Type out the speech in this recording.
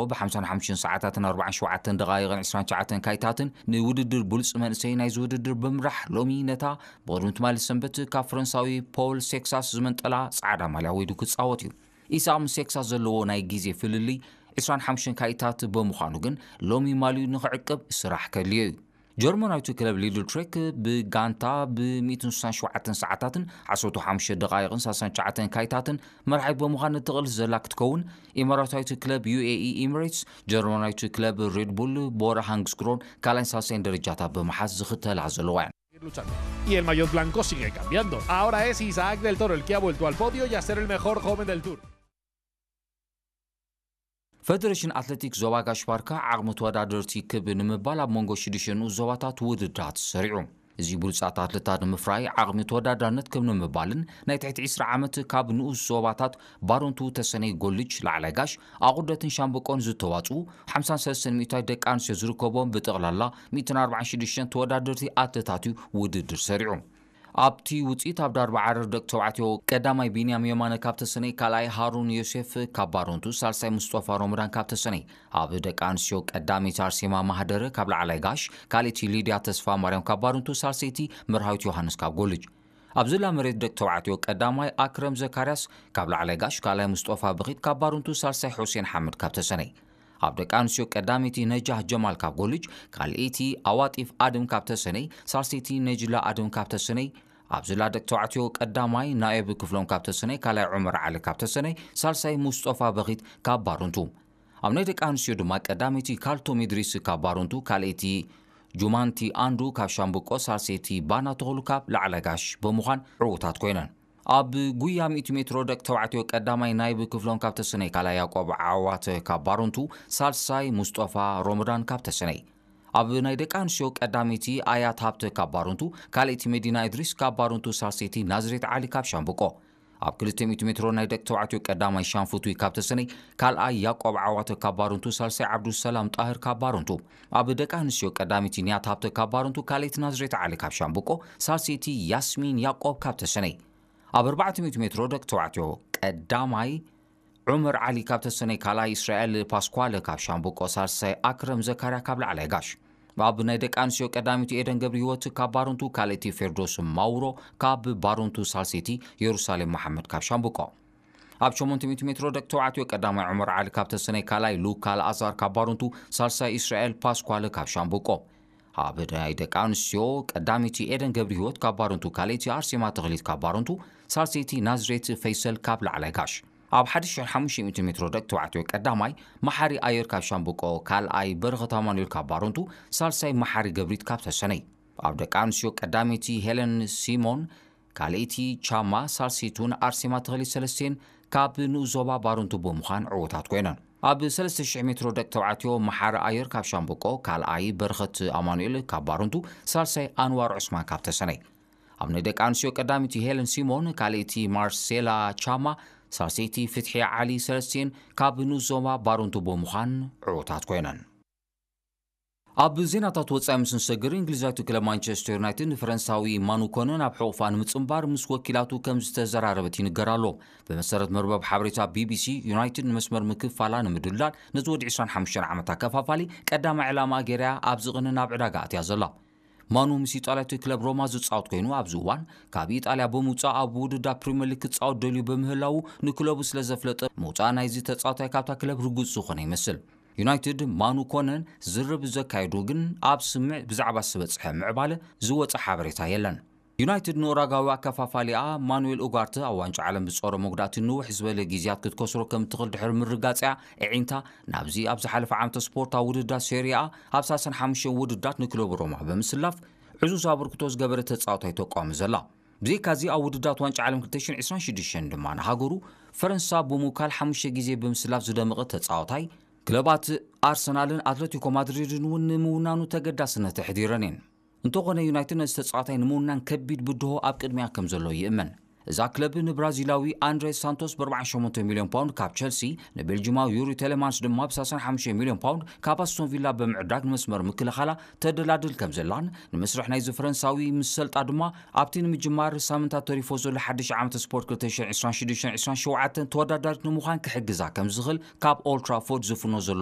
ብ ሓምሳን ሓሙሽተን ሰዓታትን ኣርባዓን ሸውዓተን ደቓይቕን ዕስራን ትሽዓተን ካይታትን ንውድድር ብሉጽ መንእሰይ ናይዚ ውድድር ብምራሕ፣ ሎሚ ነታ ብቕድሚ ትማሊ ሰንበት ካብ ፈረንሳዊ ፖል ሴክሳስ ዝመንጠላ ጻዕዳ ማልያ ወይዱ ክጻወት እዩ። ኢሳቕ ምስ ሴክሳስ ዘለዎ ናይ ግዜ ፍልልይ ዕስራን ሓሙሽተን ካይታት ብምዃኑ ግን፣ ሎሚ ማልዩ ንኽዕቅብ ስራሕ ከድልዮ እዩ። ጀርመናዊቱ ክለብ ሊድል ትሬክ ብጋንታ ብ ሚእትን ስሳን ሸውዓተን ሰዓታትን ዓሰርተ ሓሙሽተ ደቓይቕን ሰላሳን ትሽዓተን ካይታትን መርሓይ ብምዃን እትቕልስ ዘላ ክትከውን፣ ኢማራታዊቱ ክለብ ዩ ኤ ኢ ኢሚሬትስ ጀርመናዊቱ ክለብ ሬድ ቡል ቦረ ሃንግስክሮን ካልኣይን ሳልሳይን ደረጃታት ብምሓዝ ዝኽተላ ዘለዋ እየን። Y el maillot blanco sigue cambiando. Ahora es Isaac del Toro el que ha vuelto al podio y a ser el mejor joven del Tour. ፈደሬሽን ኣትሌቲክስ ዞባ ጋሽ ባርካ ዓቕሚ ተወዳደርቲ ክብ ንምባል ኣብ መንጎ ሽዱሽተ ንኡስ ዞባታት ውድድራት ሰሪዑ። እዚ ብሉጻት ኣትሌታት ንምፍራይ ዓቕሚ ተወዳዳርነት ክብ ንምባልን ናይ ትሕቲ ዕስራ ዓመት ካብ ንኡስ ዞባታት ባሮንቱ፣ ተሰነይ፣ ጎልጅ፣ ላዕላይ ጋሽ፣ ኣቑርደትን ሻምበቆን ዝተዋጽኡ ሓምሳን ሰለስተን ሚእታዊት ደቂ ኣንስትዮ ዝርከቦም ብጠቕላላ ሚእትን ኣርባዓን ሽዱሽተን ተወዳደርቲ ኣትሌታት እዩ ውድድር ሰሪዑ። ኣብቲ ውጽኢት ኣብ ዳርባ ዓረር ደቂ ተባዕትዮ ቀዳማይ ቢንያም የማነ ካብ ተሰነይ፣ ካልኣይ ሃሩን ዮሴፍ ካብ ባሮንቱ፣ ሳልሳይ ሙስጦፋ ሮመዳን ካብ ተሰነይ፣ ኣብ ደቂ ኣንስትዮ ቀዳመይቲ ኣርሴማ ማህደረ ካብ ላዕላይ ጋሽ፣ ካልኣይቲ ሊድያ ተስፋ ማርያም ካብ ባሮንቱ፣ ሳልሰይቲ መርሃዊት ዮሃንስ ካብ ጎልጅ። ኣብ ዝላ መሬት ደቂ ተባዕትዮ ቀዳማይ ኣክረም ዘካርያስ ካብ ላዕላይ ጋሽ፣ ካልኣይ ሙስጦፋ በኺት ካብ ባሮንቱ፣ ሳልሳይ ሑሴን ሓመድ ካብ ተሰነይ። ኣብ ደቂ ኣንስትዮ ቀዳመይቲ ነጃህ ጀማል ካብ ጎልጅ፣ ካልኣይቲ ኣዋጢፍ ኣድም ካብ ተሰነይ፣ ሳልሰይቲ ነጅላ ኣድም ካብ ተሰነይ። ኣብ ዝላ ደቂ ተባዕትዮ ቀዳማይ ናኤብ ክፍሎም ካብ ተሰነይ፣ ካልኣይ ዑመር ዓሊ ካብ ተሰነይ፣ ሳልሳይ ሙስጦፋ በኺት ካብ ባሮንቱ። ኣብ ናይ ደቂ ኣንስትዮ ድማ ቀዳመይቲ ካልቶም ኢድሪስ ካብ ባሮንቱ፣ ካልኣይቲ ጁማንቲ ኣንዱ ካብ ሻምብቆ፣ ሳልሰይቲ ባና ተኽሉ ካብ ላዕላይ ጋሽ ብምዃን ዕዉታት ኮይነን። ኣብ ጉያ ሚእቲ ሜትሮ ደቂ ተባዕትዮ ቀዳማይ ናይብ ክፍሎም ካብ ተሰነይ፣ ካልኣይ ያቆብ ዓዋተ ካብ ባሮንቱ፣ ሳልሳይ ሙስጦፋ ሮመዳን ካብ ተሰነይ። ኣብ ናይ ደቂ ኣንስትዮ ቀዳመይቲ ኣያት ሃብተ ካብ ባሮንቱ፣ ካልኣይቲ መዲና እድሪስ ካብ ባሮንቱ፣ ሳልሰይቲ ናዝሬት ዓሊ ካብ ሻምብቆ። ኣብ ክልተ ሚእቲ ሜትሮ ናይ ደቂ ተባዕትዮ ቀዳማይ ሻንፉቱይ ካብ ተሰነይ፣ ካልኣይ ያቆብ ዓዋተ ካብ ባሮንቱ፣ ሳልሳይ ዓብዱሰላም ጣህር ካብ ባሮንቱ። ኣብ ደቂ ኣንስትዮ ቀዳመይቲ ንያት ሃብተ ካብ ባሮንቱ፣ ካልኣይቲ ናዝሬት ዓሊ ካብ ሻምብቆ፣ ሳልሰይቲ ያስሚን ያቆብ ካብ ተሰነይ። ኣብ ኣርባዕተ ሚእቲ ሜትሮ ደቂ ተባዕትዮ ቀዳማይ ዑመር ዓሊ ካብ ተሰነይ፣ ካልኣይ እስራኤል ፓስኳለ ካብ ሻምብቆ፣ ሳልሳይ ኣክረም ዘካርያ ካብ ላዕላይ ጋሽ። ኣብ ናይ ደቂ ኣንስትዮ ቀዳመይቲ ኤደን ገብረ ህይወት ካብ ባሮንቱ፣ ካልኣይቲ ፌርዶስ ማውሮ ካብ ባሮንቱ፣ ሳልሰይቲ የሩሳሌም መሓመድ ካብ ሻምብቆ። ኣብ ሸሞንተ ሚእቲ ሜትሮ ደቂ ተባዕትዮ ቀዳማይ ዑመር ዓሊ ካብ ተሰነይ፣ ካልኣይ ሉካ ኣልኣዛር ካብ ባሮንቱ፣ ሳልሳይ እስራኤል ፓስኳለ ካብ ሻምብቆ። ኣብ ናይ ደቂ ኣንስትዮ ቀዳመይቲ ኤደን ገብረ ህይወት ካብ ባሮንቱ፣ ካልኣይቲ ኣርሴማ ተኽሊት ካብ ባሮንቱ፣ ሳልሰይቲ ናዝሬት ፈይሰል ካብ ላዕላይ ጋሽ። ኣብ ሓሙሽተ ሚእቲ ሜትሮ ደቂ ተባዕትዮ ቀዳማይ መሓሪ ኣየር ካብ ሻምብቆ፣ ካልኣይ በረኸት ኣማኑኤል ካብ ባሮንቱ፣ ሳልሳይ መሓሪ ገብሪት ካብ ተሰነይ። ኣብ ደቂ ኣንስትዮ ቀዳመይቲ ሄለን ሲሞን፣ ካልኣይቲ ቻማ፣ ሳልሰይቱን ኣርሴማ ተኽሊት ሰለስቴን ካብ ንኡስ ዞባ ባሮንቱ ብምዃን ዕዉታት ኮይነን። ኣብ ሰለስተ ሽሕ ሜትሮ ደቂ ተባዕትዮ መሓሪ ኣየር ካብ ሻምብቆ፣ ካልኣይ በረኸት ኣማኑኤል ካብ ባሮንቱ፣ ሳልሳይ ኣንዋር ዑስማን ካብ ተሰነይ። ኣብ ናይ ደቂ ኣንስትዮ ቀዳመይቲ ሄለን ሲሞን፣ ካልኣይቲ ማርሴላ ቻማ፣ ሳልሰይቲ ፍትሒ ዓሊ ሰለስቴን ካብ ንኡስ ዞባ ባሮንቱ ብምዃን ዕዉታት ኮይነን። ኣብ ዜናታት ወጻኢ ምስ ንሰግር፣ እንግሊዛዊቱ ክለብ ማንቸስተር ዩናይትድ ንፈረንሳዊ ማኑ ኮነ ናብ ሕቑፋ ንምጽንባር ምስ ወኪላቱ ከም ዝተዘራረበት ይንገር ኣሎ። ብመሰረት መርበብ ሓበሬታ ቢ ቢ ሲ፣ ዩናይትድ ንመስመር ምክፋላ ንምድልዳል ነቲ ወዲ ዕስራን ሓሙሽተን ዓመት ኣከፋፋሊ ቀዳማይ ዕላማ ገይራ ኣብዚ ቅነ ናብ ዕዳጋ ኣትያ ዘላ። ማኑ ምስ ኢጣልያዊት ክለብ ሮማ ዝጻወት ኮይኑ፣ ኣብዚ እዋን ካብ ኢጣልያ ብምውጻእ ኣብ ውድድር ፕሪምየር ሊግ ክጻወት ደልዩ ብምህላዉ፣ ንክለቡ ስለ ዘፍለጠ፣ ምውጻእ ናይዚ ተጻዋታይ ካብታ ክለብ ርጉጽ ዝኾነ ይመስል። ዩናይትድ ማኑ ኮነን ዝርርብ ዘካየዱ ግን ኣብ ስምዕ ብዛዕባ ዝበጽሐ ምዕባለ ዝወጸ ሓበሬታ የለን። ዩናይትድ ንኡራጋዊ ኣከፋፋሊኣ ማኑኤል ኡጋርተ ኣብ ዋንጫ ዓለም ብጾረ መጉዳእቲ ንውሕ ዝበለ ግዜያት ክትከስሮ ከም እትኽእል ድሕሪ ምርጋጽያ፣ ኣዒንታ ናብዚ ኣብ ዝሓለፈ ዓመተ ስፖርታዊ ውድድራት ሴሪኣ ኣብ ሰላሳን ሓሙሽተን ውድድራት ንክለቡ ሮማ ብምስላፍ ዕዙዝ ኣበርክቶ ዝገበረ ተጻዋታይ ተቋሚ ዘላ። ብዘይካዚ ኣብ ውድድራት ዋንጫ ዓለም ክልተ ሽሕን ዕስራን ሽዱሽተን ድማ ንሃገሩ ፈረንሳ ብምውካል ሓሙሽተ ግዜ ብምስላፍ ዝደመቐ ተጻዋታይ፣ ክለባት ኣርሰናልን ኣትለቲኮ ማድሪድን እውን ንምውናኑ ተገዳስነት ኣሕዲረን እየን። እንተኾነ ዩናይትድ ነዚ ተጻዋታይ ንምውናን ከቢድ ብድሆ ኣብ ቅድሚያ ከም ዘሎ ይእመን። እዛ ክለብ ንብራዚላዊ ኣንድሬ ሳንቶስ ብ ኣርባዓን ሸሞንተን ሚልዮን ፓውንድ ካብ ቸልሲ፣ ንቤልጂማዊ ዩሪ ቴሌማንስ ድማ ብ ሰላሳን ሓሙሽተን ሚልዮን ፓውንድ ካብ ኣስቶን ቪላ ብምዕዳግ ንመስመር ምክልኻላ ተደላድል ከም ዘላን፣ ንመስርሕ ናይዚ ፈረንሳዊ ምስ ሰልጣ ድማ ኣብቲ ንምጅማር ሳምንታት ተሪፎ ዘሎ ሓድሽ ዓመት ስፖርት ክልተ ሽሕን ዕስራን ሽዱሽተን ዕስራን ሸውዓተን ተወዳዳሪት ንምዃን ክሕግዛ ከም ዝኽእል ካብ ኦልድ ትራፎርድ ዝፍኖ ዘሎ